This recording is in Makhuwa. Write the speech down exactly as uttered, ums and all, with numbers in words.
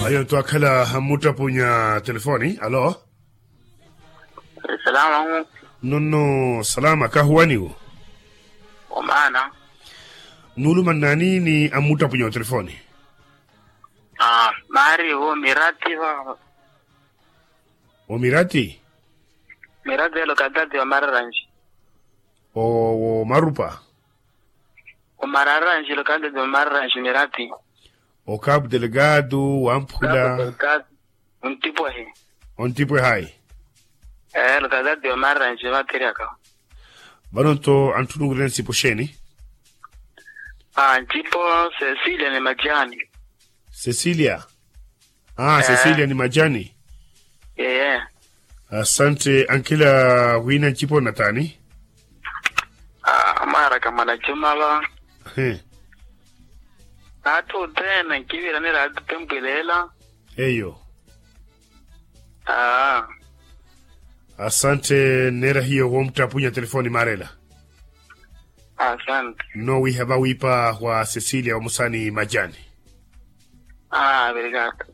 Eyo twaakhala ammuttapunya telefoni alo. Salama. Nonno salama kahuwaniwo. Omaana. Nuuluma nnaani ni ammuttapunya otelefoni? Maari wo mirati va. Omirati? Mirati elo katati wa mararanji. Omarupa. Omararanji elo katati wa mararanji mirati. Okapu delegado wamphula. Ontipwehe. Ontipwehe ayi. Elo katati wa mararanji vathiri aka. Vano nto antthunukirene nsipo xeeni? Aa nsipo cecilia ni majani. Cecilia. Aa cecilia ni majani. Eee. Asante ankila wina nsipo nataani? Aa mwaaraka mwanajuma va. He. Atthu othene nkiviranira atthu tempweleela. Eyo. Aa. Asante nneera hiyo womuttrapunya telefoni maarela. Asante. Nnowiha vawiipa wa cecilia omusani majani. Aa virikata.